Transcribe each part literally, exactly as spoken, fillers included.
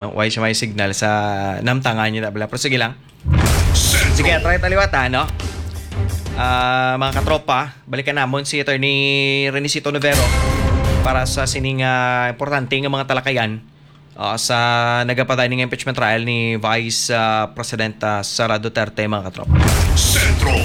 No, why siya may signal sa namtangan niya na bala. Pero sige lang. Sige, try ta liwat, ha, no? Ah, mga katropa, balikan namon si Attorney Renicito Novero para sa sining, ah, importante nga mga talakayan, ah, sa nagapaday ning impeachment trial ni Vice, ah, President, ah, Sara Duterte, mga katropa. Sentro.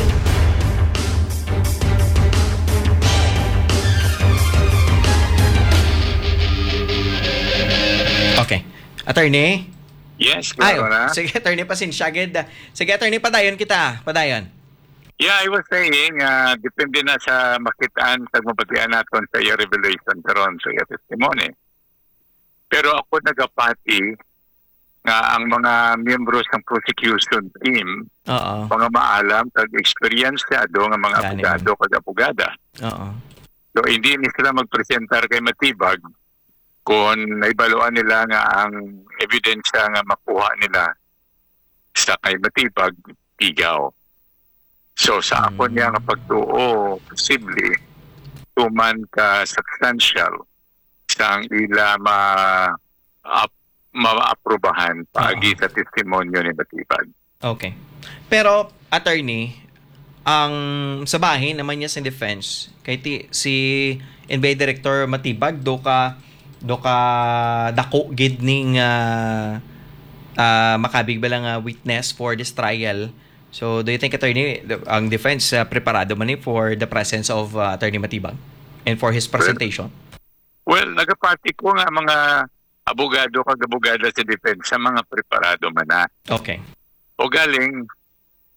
Okay. Attorney? Yes, Ay, klaro na. Sige, Attorney, pasensya gid. Sige, Attorney, padayon kita. Padayon. Yeah, I was saying, ah, depende na sa makitaan, sa mabatian naton sa iya revelation karon, sa iya testimony. Pero ako nagapati nga ang mga miyembro sa prosecution team, Oo. mga maalam kag eksperyensyado nga mga Gani man. abogado kag abogada. Oo. So, hindi ni sila magpresentar kay Matibag kung naibaluan nila nga ang ebidensya nga makuha nila sa kay Matibag, tigaw. So, sa ako niya nga Mm. pagtuo, posible, tuman ka substantial sang ila ma-, ap-, maaprubahan paagi Oo. sa testimonyo ni Matibag. Okay. Pero, attorney, ang sa bahin naman niya sa defense, kay ti-, si N B I Director Matibag, do ka, do ka dako gid ning, ah, ah, makabig ba lang, ah, witness for this trial? So, do you think, attorney, the, ang defense, ah, preparado man ni for the presence of, ah, Attorney Matibag and for his Well, presentation? Well, nagapati ko nga mga abogado kag abogada sa depensa, mga preparado man na. Okay. O galing,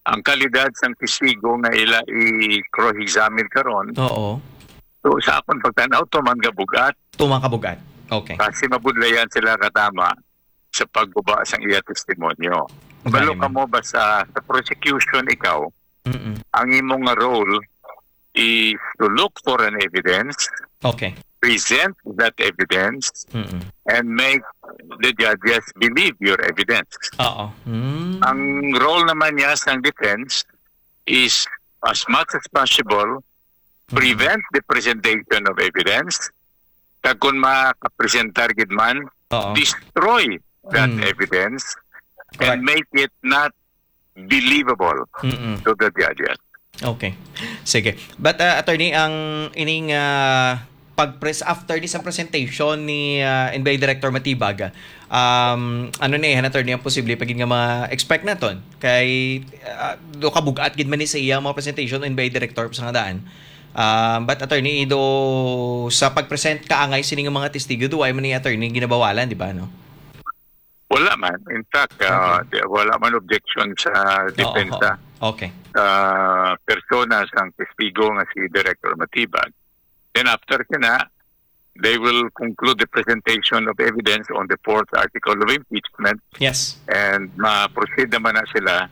ang kalidad sang testigo nga ila i-cross-examine karon, Oo. so, sa akon pagtan-aw, tuman nga bugat. Tuman ka bugat. Okay. Kasi mabudlayan sila katama sa pagguba sang iya testimonyo. Balo Galing. ka mo ba sa, sa prosecution ikaw, Mm-mm. ang imo nga role is to look for an evidence, Okay. present that evidence, Mm-mm. and make the judges believe your evidence. Oo. Mm. Ang role naman niya sang defense is, as much as possible, Mm-mm. prevent the presentation of evidence. Kag kung makapresentar gid man, Oo. destroy that Mm. evidence Correct. and make it not believable Mm-mm. to the judges. Okay. Sige. But, uh, attorney, ang ining, uh, pag-pres-, after ni sa presentation ni, uh, N B I Director Matibag, um, ano ni, han, attorney, ang posible pagin nga ma-expect naton? Kay, uh, do kabugat gid man ni sa iya mga presentation, N B I Director, sa nga daan. Um, but, attorney, do sa pag-present kaangay sining mga testigo, do ay man ni, attorney, ginabawalan, di ba, no? Wala man. In fact, ah, Okay. di-, wala man objection sa Oo, depensa oo. Okay. sa persona sang testigo nga si Director Matibag. Then after sina, they will conclude the presentation of evidence on the fourth article of impeachment Yes. and ma-proceed naman na sila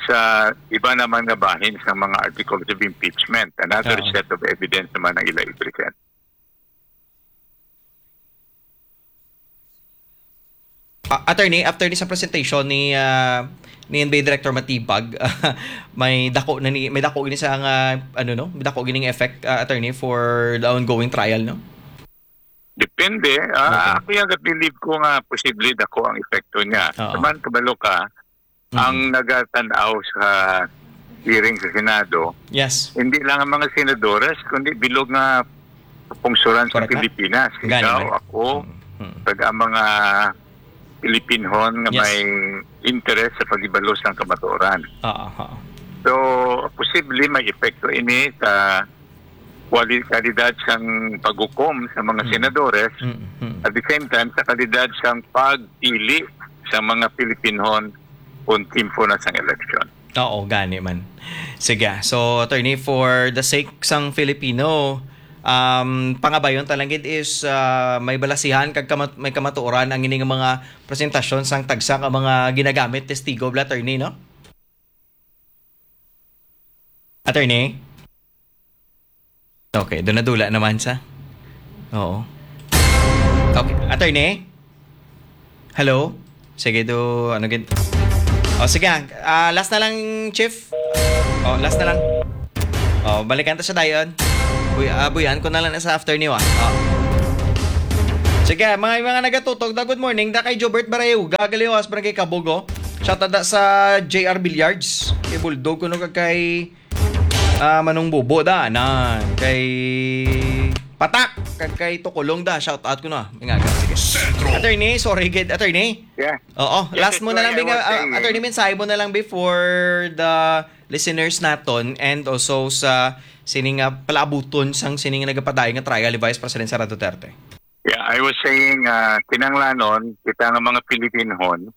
sa iba naman nga bahin sa mga articles of impeachment. Another Oo. set of evidence naman ang ila i-present. Ah, attorney, after ni sa presentation ni, ah, ni N B I Director Matibag, may dako na ni, may dako gini sa nga, ano, no? May dako gining effect, ah, attorney, for the ongoing trial, no? Depende. Ah, Okay. ako yung believe ko nga posible dako ang epekto niya. Oo. Taman, kabalo ka, Mm. ang nagatan-aw sa hearing sa Senado, Yes. hindi lang ang mga senadores, kundi bilog nga pungsuran sa Correct na. Pilipinas. Gani Ikaw, man. ako, Mm, mm. kag ang mga Pilipinhon nga Yes. may interes sa paghibalo sang kamatuoran. Oo, oo. So, posible may epekto ini sa kwali-, kalidad sang paghukom sa mga Mm. senadores, Mm, mm. at the same time, sa kalidad sang pagpili sa mga Pilipinhon kung timpo na sang eleksyon. Oo, gani man. Sige. So, attorney, for the sake sang Filipino, um, pangabayon ta lang gid is, ah, may balasihan kag kamat-, may kamatuoran ang ining mga presentasyon sang tagsa ka mga ginagamit testigo, bala, attorney, no? Attorney? Okay, do nadula naman sa. Oo. Okay, attorney? Hello? Sige, do, ano gid? O, sige, ah, last na lang, Chief. O, last na lang. O, balikan ta sa dayon. Buy-, ah, buyan ko na lang na sa after niyo, ah. O. Sige, mga, mga nagatutok da, good morning da kay Jobert Barayuga, Galiwas, Barangay Kabugo. Shout out da sa J R Billiards, kay Bulldog kuno kag kay, ah, Manong Bubo da, na kay Patak, kag kay Tukulong da, shout out ko na. Mga, sige. Sentro. Attorney, sorry gid, attorney. Yeah. Oo, Yes, last mo na lang, Attorney, I binga-, was ah, saying Attorney, mensahe mo na lang before the listeners naton and also sa sining, ah, palaabuton sang sining nagapadayon nga trial ni Vice President Sara Duterte. Yeah, I was saying, ah, kinahanglanon kita nga mga Pilipinhon,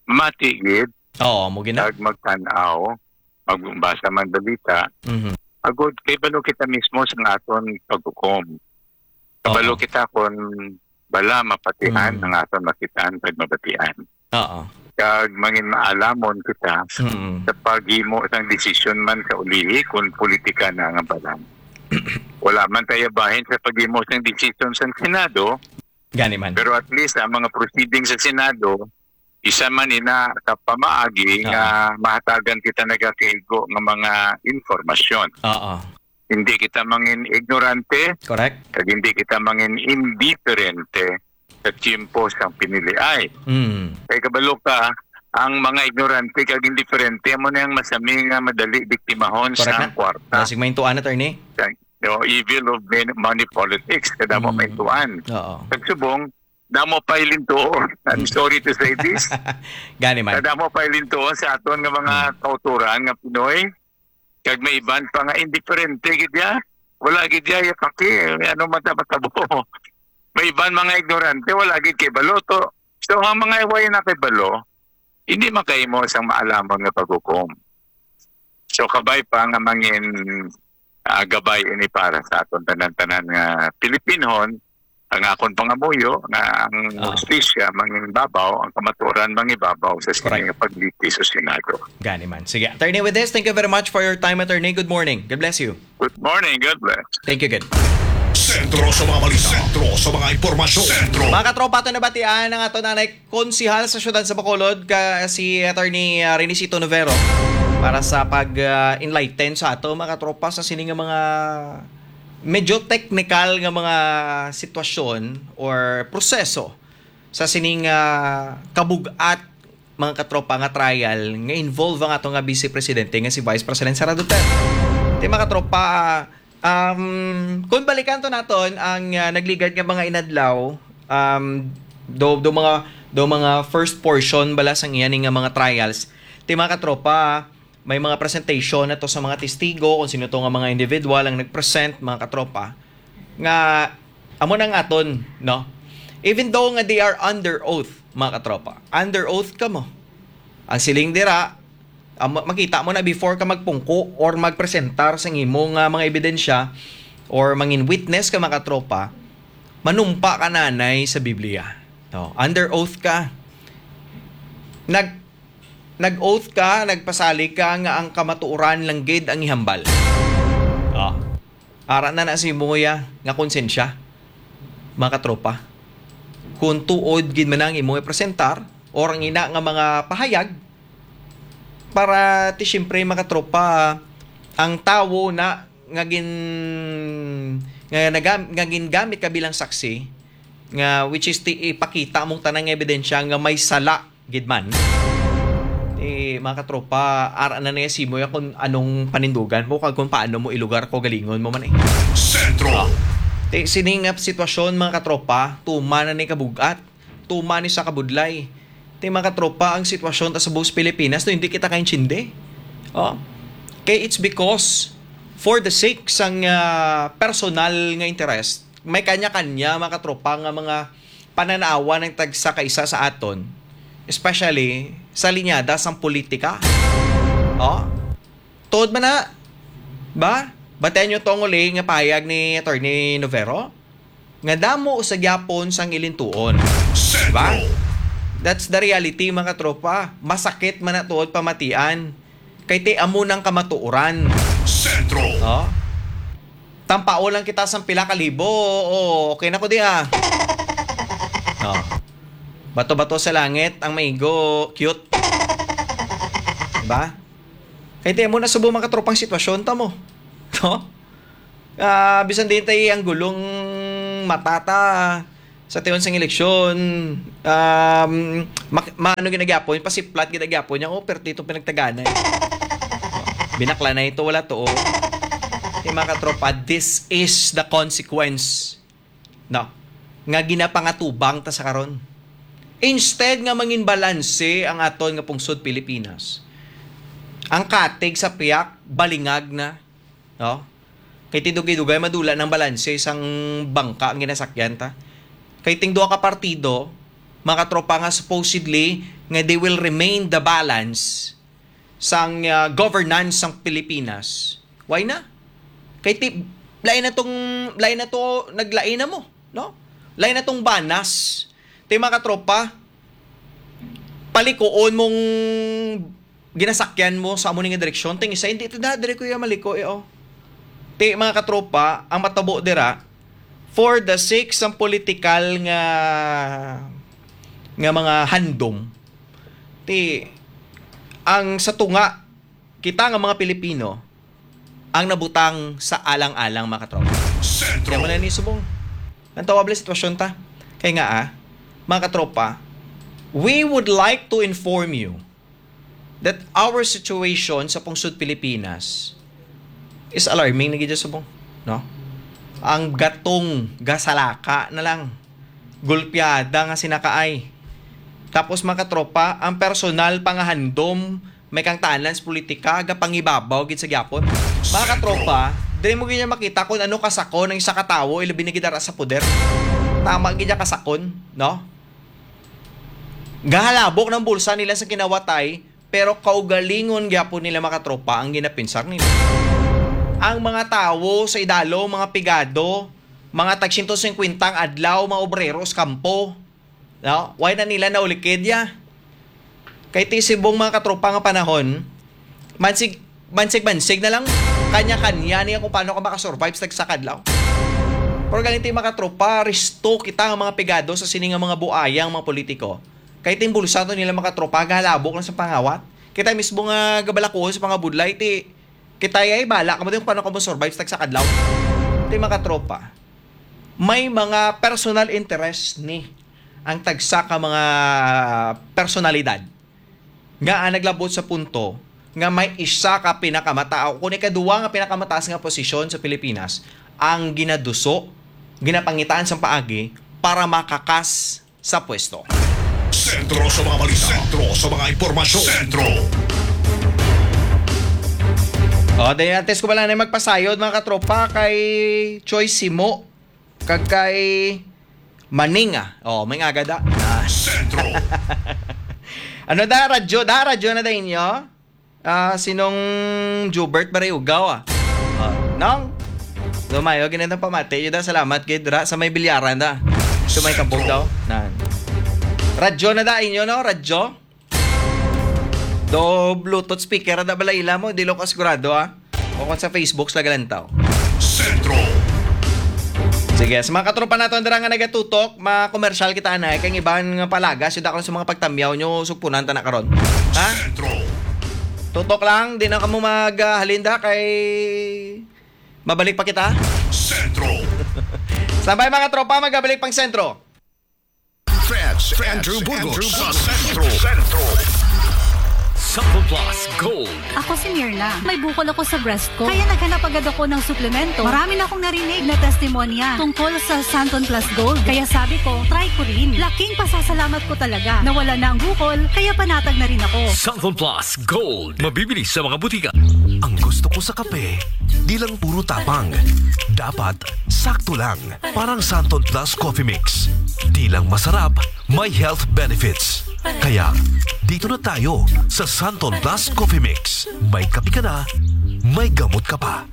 mati gid, Oo, mo gina. Kag magtan-aw, magbasa man balita, Mhm. agod kay balo kita mismo sa aton paghukom. Kabalo Oo. kita kon bala mapatihan Mm. ang aton makitaan kag mabatian. Oo. Kag mangin maalamon kita Mm. sa paghimo sang desisyon man sa ulihi kon politika na nga balang. Wala man tayo bahin sa paghimo sang desisyon sang Senado, Gani man. Pero at least ang mga proceedings sa Senado, isa man ina ka pamaagi Oo. nga mahatagan kita nagakaigo nga mga impormasyon. Oo. Hindi kita mangin ignorante, Correct. kag hindi kita mangin indiferente sa tiyempo sang piniliay. Mm. Kay kabalo ka, ang mga ignorante kag indiferente amo na ang masami nga madali biktimahon Correct sa na. Kwarta. Basig maintuan, attorney. Sa, no, evil of men-, money politics, kadamo Mm. maintuan. Oo. Pagsubong, damo pa ilintuon. I'm Mm. sorry to say this. Gani man. Kadamo pa ilintuon sa aton nga mga Mm. kauturan nga Pinoy. Kag may iban pa nga indiferente gid ya. Wala gid ya, ya paki, ano man ta matabo. May iban mga ignorante, wala gid kay balo to. So, ang mga way na kay balo, hindi makahimo sang maalamon nga paghukom. So, kabay pa nga mangin, ah, gabay ini para sa aton tanan-tanan nga Pilipinhon, ang akon pangamuyo nga ang Ah. hustisya mangin babaw, ang kamatuoran mangibabaw sa sini Correct. nga pagliti sa Senado. Gani man. Sige, Attorney, with this, thank you very much for your time, Attorney. Good morning. God bless you. Good morning. God bless. Thank you, good. Sentro sa mga balita. Sentro sa mga impormasyon. Sentro. Mga katropa, ato nabatian ang ato nanay konsihal sa siyudad sa Bacolod, ka, si Attorney, ah, Renisito Novero, para sa pag, ah, enlighten sa ato, mga katropa, sa sini nga mga medyo technical nga mga sitwasyon or proseso sa sining, ah, kabug-at, mga katropa, nga trial nga involve ang ato nga Vice Presidente nga si Vice President Sara Duterte. Di, mga katropa, um, kung balikan to naton ang, ah, nagligad nga mga inadlaw, um, do, do mga, do mga first portion bala sang iya ni nga mga trials. Ti, mga katropa, may mga presentation na to sa mga testigo, kung sino to nga mga individual ang nag-present, mga katropa, nga amo nang aton, no? Even though nga they are under oath, mga katropa. Under oath ka mo. Ang siling dira, ah, ma-, makita mo na before ka magpungko or magpresentar sa imo nga mga ebidensya or mangin witness ka, mga katropa, manumpa ka nanay sa Biblia. No? Under oath ka. Nag-, nag-oath ka, nagpasalig ka nga ang kamatuoran lang gid ang ihambal. Oh. Ara na na si Moya nga konsensya, mga katropa. Kung tuod gid man ang imo ipresentar or ang ina nga mga pahayag, para ti siyempre, mga katropa, ang tawo na nga gin-, nga nagam-, nga gingamit ka bilang saksi, nga which is ti ipakita mong tanang ebidensya nga may sala gid man. Eh, mga katropa, ara na niya simo ya kung anong panindugan mo kag kung paano mo ilugar ko galingon mo man eh. Sentro. Ah. Ti, sini nga sitwasyon, mga katropa, tuman na ni kabugat, tuman ni sa kabudlay. Ti, mga katropa, ang sitwasyon ta sa buhos Pilipinas, no, hindi kita kaintindi. Oh. Kay it's because for the sake sang, ah, personal nga interest, may kanya-kanya, mga katropa, nga mga pananawan ang tagsa ka isa sa aton, especially sa linyada sang politika. Oh? Tuod man na, ba? Batian nyo tong uli nga pahayag ni Attorney Novero? Nga damo sa gyapon sang ilintuon. Ba? Sentro. That's the reality, mga katropa. Masakit man na tuod pamatian. Kay ti amo nang kamatuoran. Sentro. Oh? Tampao lang kita sang pila ka libo. Oh, okay na ko di ah. Oh. Bato-bato sa langit ang maigo, cute. Diba? Kay ti amo na subong, mga katropang, sitwasyon ta mo. No? Ah, bisan din tayo ang gulong matata, Sa tion sang eleksyon, um, mak-, maano ginagyapon, pasiplat ginagyapon niya, "Oh, perti itong pinagtagana eh." Binakla na ito, wala to, oh. Kaya, mga katropa, this is the consequence, no, nga ginapangatubang ta sa karon. Instead nga mangin balanse ang aton nga pungsod Pilipinas, ang katig sa piyak, balingag na, no? Kay ti dugay-dugay madula ng balanse sang bangka ang ginasakyan ta. Kay ting duha ka partido, mga katropa, nga supposedly nga they will remain the balance sang, ah, governance sang Pilipinas. Why na? Kay ti, lain na tong, lain na to, naglain na mo, no? Lain na tong banas. Ti, mga katropa, palikuon mong ginasakyan mo sa amo ni nga direksyon. Ting isa, hindi ito na, dire ko yung maliko eh, oh. Ti, mga katropa, ang matabo dira, for the sake sang political nga, nga mga handom, ti, ang sa tunga, kita nga mga Pilipino, ang nabutang sa alang-alang, mga katropa. Sentro. Kaya mo na ni subong. Ang tawable sitwasyon ta. Kaya nga, ah, mga katropa, we would like to inform you that our situation sa pungsod Pilipinas is alarming na gid subong, no? Ang gatong gasalaka na lang. Gulpiada nga sinakaay. Tapos, mga katropa, ang personal pangahandom may kang tanan sa politika, gapangibabaw gid sa gyapon. Mga katropa, dili mo gid niya makita kung ano kasakon ang isa ka tawo, ilabi na gid ara sa poder. Tama gid niya kasakon, no? Gahalabok ng bulsa nila sa kinawatay, pero kaugalingon gyapon nila, mga katropa, ang ginapinsar nila. Ang mga tawo sa idalo, mga pigado, mga tag siyento singkwenta ang adlaw, mga obrero sa kampo. No? Why na nila naulikid ya? Kay ti subong, mga katropa, nga panahon, mansig, mansig-mansig na lang, kanya-kanya niya kung paano ka makasurvive sa isa ka adlaw. Pero ganito, mga katropa, resto kita nga mga pigado sa sini nga mga buayang mga politiko. Kay ting bulsa to nila, mga katropa, gahalabok lang sa pangawat. Kita mismo nga gabalakuhon sa mga budlay, ti kita ay bala ka mo din kung paano ka mo survive sa isa ka adlaw. Ti, mga katropa, may mga personal interest ni ang tagsa ka mga personalidad nga ang naglabot sa punto nga may isa ka pinakamataas o kung ikaduwa nga pinakamataas nga posisyon sa Pilipinas ang ginaduso, ginapangitaan sang paagi para makakas sa pwesto. Sentro sa mga balita. Sentro sa mga impormasyon. Sentro. O, dahil antes ko pala na magpasayod, mga katropa, kay Choi Simo, kag kay Maninga. O, may nga agad, ah. Ah. Sentro. Ano da, radyo? Da, radyo na da inyo? Ah, sinong Jubert Barayugaw, ah? Ah, nang? Lumayo, ginitang pamati. Yuda, salamat, gid, ra, sa may bilyaran da. Sa may kabog daw. Nan. Radyo na da inyo, no? Radyo? Do Bluetooth speaker, da bala ila mo? Di lo ko sigurado, ah. O kung sa Facebook, sa Galantaw. Sentro. Sige, sa mga katropa nato, dira nga nagatutok, ma-commercial kita na, kay ang iban nga palagas, yuda ko sa mga pagtamyaw nyo, sugpunan ta na karon. Ha? Sentro. Tutok lang, di na kamo mag, ah, halinda kay mabalik pa kita. Sentro. Sabay, mga tropa, magabalik pang sentro. Fred, Fred Andrew Burgos sa Sentro. Sentro. Santon Plus Gold. Ako si Mirna. May bukol ako sa breast ko. Kaya naghanap agad ako ng suplemento. Marami na akong narinig na testimonya tungkol sa Santon Plus Gold. Kaya sabi ko, try ko rin. Laking pasasalamat ko talaga. Nawala na ang bukol, kaya panatag na rin ako. Santon Plus Gold. Mabibili sa mga butika. Ang gusto ko sa kape, di lang puro tapang. Dapat sakto lang. Parang Santon Plus Coffee Mix. Di lang masarap, may health benefits. Kaya, dito na tayo sa Santon Plus Coffee Mix. May kape ka na, may gamot ka pa.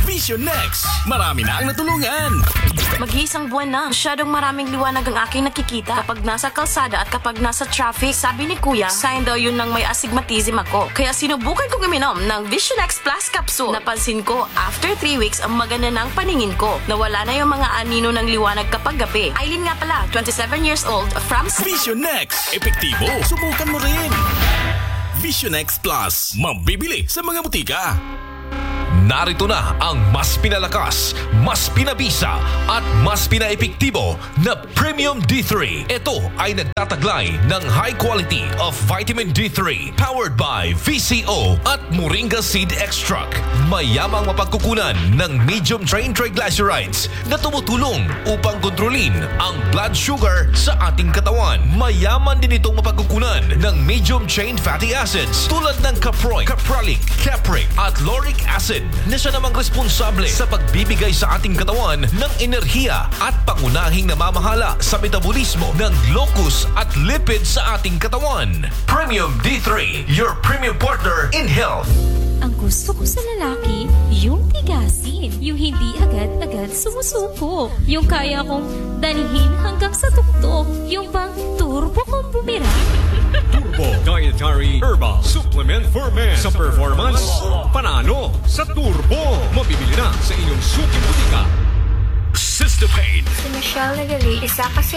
Vision Next. Marami na ang natulungan. Mag-iisang buwan na. Masyadong maraming liwanag ang aking nakikita kapag nasa kalsada at kapag nasa traffic. Sabi ni Kuya, sign daw yun ng may astigmatism ako. Kaya sinubukan kong uminom ng Vision X Plus Capsule. Napansin ko, after three weeks, ang maganda ng paningin ko. Nawala na yung mga anino ng liwanag kapag gabi. Eileen nga pala, twenty-seven years old, from Vision Next. Epektibo. Subukan mo rin. Vision X Plus. Mabibili sa mga butika. Narito na ang mas pinalakas, mas pinabisa, at mas pinaepektibo na Premium D three. Ito ay nagtataglay ng high quality of vitamin D three, powered by V C O at Moringa Seed Extract. Mayamang mapagkukunan ng medium chain triglycerides na tumutulong upang kontrolin ang blood sugar sa ating katawan. Mayaman din itong mapagkukunan ng medium chain fatty acids tulad ng caproic, caprylic, capric, at lauric acid na siya namang responsable sa pagbibigay sa ating katawan ng enerhiya at pangunahing namamahala sa metabolismo ng glucose at lipid sa ating katawan. Premium D three, your premium partner in health. Ang gusto ko sa lalaki, yung tigasin, yung hindi agad-agad sumusuko, yung kaya kong dalhin hanggang sa tuktok, yung bang turbo kong bumirang. Turbo Dietary Herbal Supplement for Men. Sa performance, panalo. Sa turbo, mabibili na sa inyong suking butika. Cystepain. Si Michelle Nagali, isa ka